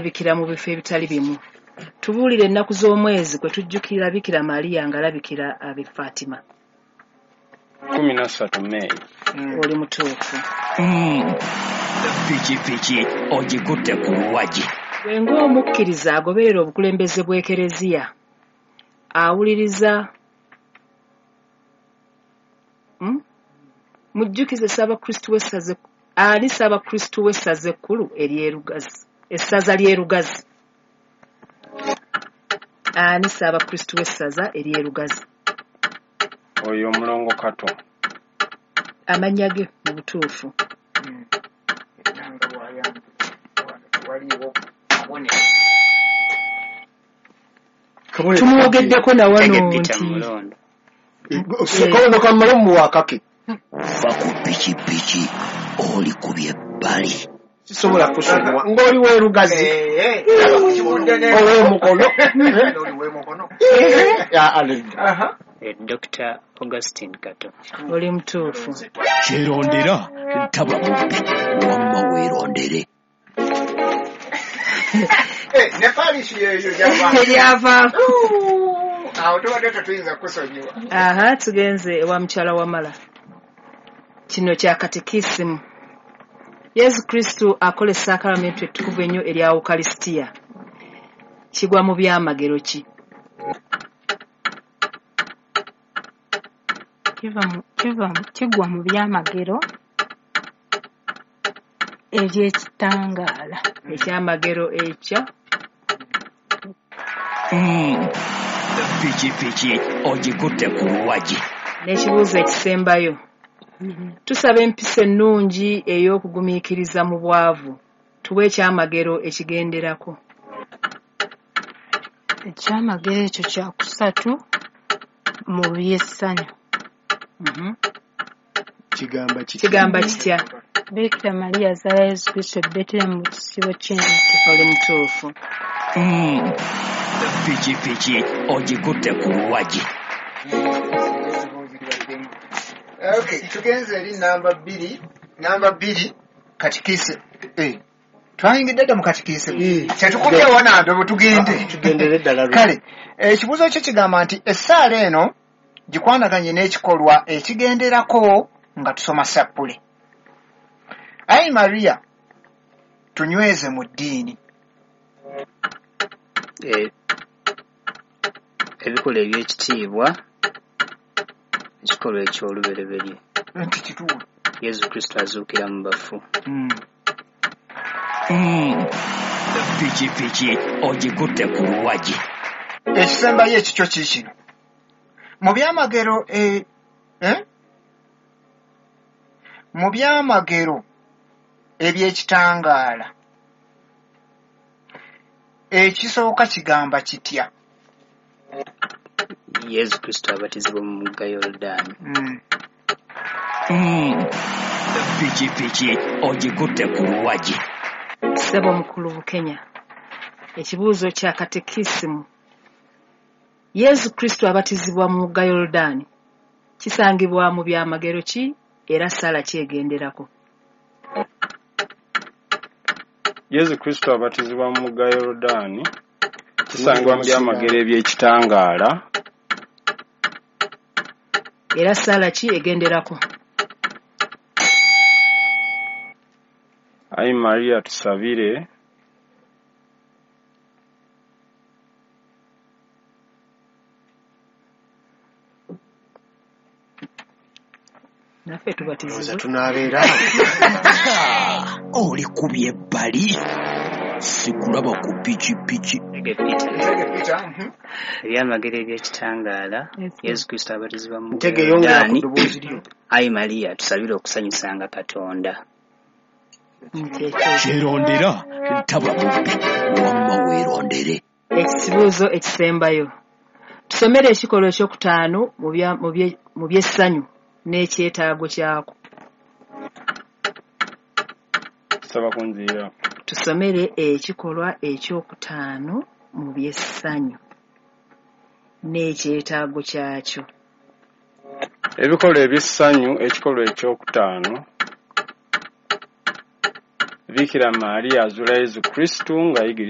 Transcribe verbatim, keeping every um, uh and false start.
Alabikira mu bifo ebitali bimu. Tubuulire ennaku z'omwezi kwe tujjukira Bikira Maria ng'alabikira ab'e Fatima. Kkumi na ssatu May. Oli mutuufu. Pikipiki ogikutte ku luwagi. Gwe ng'omukkiriza agoberera obukulembeze bw'Ekereziya, awuliriza Hmm? Mujjukize Ssaabakristu w'essaza ani Ssaabakristu w'essaza ekkulu ery'e Lugazi, essaza ly'e Lugazi. Ani Ssaabakristu w'essaza ery'e Lugazi? Oyo Omulongo Kato. Amannya ge mu butuufu. Era nga bw'ayambye wano tewaliiwo kabonero. Tumwogeddeko na wano Ntege Peter nti Mulondo. Kabonero kammale mumuwa akake. Va ku pikipiki olikubye ebbali. Sisobola kusonyiwa ng'oli w'erugazi Eh, kivudde ne ow'emukono. Oli w'emukono. Ya, alenda. Aha. Eh, Doctor Augustine Kato. Oli mutuufu. Kyerondera taba mubbi, wamma weerondere. Eh, ne parish yeeyo gyava. Eryavaako. Awo tubadde tetuyinza kusonyiwa. Aha, tugenze ewa mukyala Wamala. Kino kya katekisimu. Yesu Kristu akola essaakalamentu ettukuvu ennyo erya Ukalisitiya. Kigwa mu byamagero ki? Kiva mu- kiva mu- kigwa mu byamagero eby'ekitangaala. Ekyamagero ekya Pikipiki ogikutte ku luwagi. N'ekibuuzo ekisembayo. Tusaba empisa ennungi ey'okugumiikiriza mu bwavu. Tuwe ekyamagero ekigenderako. Ekyamagero ekyo kyakusatu mu by'essanyu. Mhm. Kigamba kitya? Kigamba kitya? Bikira Maria azaala Yesu Kristo e Betelehemu mu kisibo ky'ente. Oli mutuufu. Pikipiki ogikutte ku luwagi. Okay, tugenze eri namba bbiri, namba bbiri katikise. Eh. Twayingidde dda mu katikise. Eh. Kyetukubye wano bwe tugende. Tugendere ddala lwe. Kale, ekibuuzo kyo kigamba nti essaala eno gikwanaganye n'ekikolwa ekigenderako nga tusoma sappule. Ayi Maria, tunyweze mu ddiini. Eh, ebikolwa eby'ekitiibwa, ekikolwa eky'olubereberye. Nti kituufu. Yesu Kristo azuukira mu bafu. Mm. Pikipiki ogikutte ku luwagi. Ekisembayo ekikyo kiikino. Mu byamagero eh, eh? Mu byamagero eby'ekitangaala ekisooka kigamba kitya? Yesu Kristo abatizibwa mu mugga Yoludaani. Mm. Pikipiki ogikutte ku luwagi. Ssebo Mukulu Bukenya. Ekibuuzo kya katekisimu. Yesu Kristo abatizibwa mu mugga Yoludaani. Kisangibwa mu byamagero ki era ssaala ki egenderako? Yesu Kristo abatizibwa mu mugga Yoludaani kisangibwa mu byamagero eby'ekitangaala. Era ssaala ki egenderako? Ayi Maria tusabire. Naffe Ndowooza tubatizibwe. tunaabeera. Olikubye ebbali. Sikulaba ku pikipiki. Ntege Peter. Ntege Peter. mhm. Ebyamagero eby'ekitangaala, Yes. Yesu Kristo abatizibwa mu mugga Ntege yongera ku Yoludaani. ddoboozi lyo. Ayi Maria tusabire okusanyusanga Katonda. Nti ekyo. Kyerondera taba mubbi, wamma weerondere. Ekibuuzo ekisembayo. Tusomere ekikolwa ekyokutaano mu bya- mu bye- mu by'essanyu n'ekyetaago kyako. Saba kunzirira. Tusomere ekikolwa ekyokutaano mu by'essanyu n'ekyetaago kyakyo. Ebikolwa eby'essanyu, ekikolwa ekyokutaano. Bikira Maria azuula Yezu Kristu ng'ayigiriza